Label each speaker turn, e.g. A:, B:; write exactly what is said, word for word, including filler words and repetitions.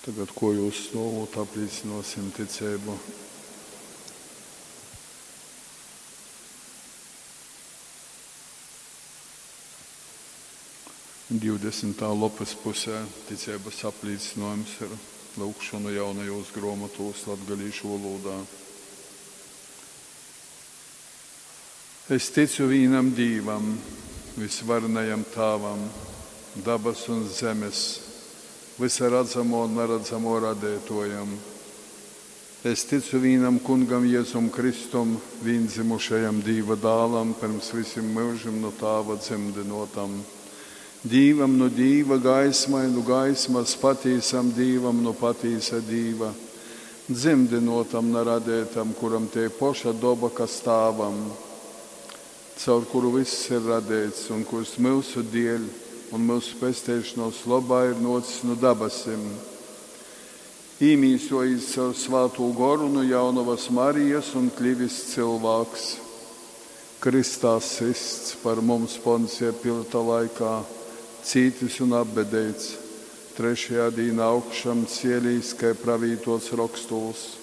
A: Tagad kuojuos stuovūt aplīcynuosim ticeibu. Divdesmitā lopys pusē ticeibys aplīcynuojums ir lyugšonu jaunajuos gruomotuos latgalīšu volūdā. Es ticu vīnam Dīvam, Vysvarenajam Tāvam, dabasu un zemes, vysa radzamuo un naradzamuo Radeituojam. Es ticu vīnam Kungam Jezum Kristum, vīndzymušajam Dīva dālam, pyrms vysim myužim nu Tāva dzymdynuotam. Dīvam nu Dīva, gaismai nu gaismas, patīsam Dīvam nu patīsa Dīva, dzymdynuotam, na radeitam, kuram tei poša doba, kas Tāvam, caur kuru vyss ir radeits un kurs myusu dieļ un myusu pesteišonuos lobā ir nuocis nu dabasim. Īmīsuojīs caur Svātū Goru nu jaunovas Marijas un klivis cylvāks. Krystā systs par mums Poncija Pilata laikā, cītis un apbedeits, trešajā dīnā augšamcielīs, kai pravītuots Rokstūs.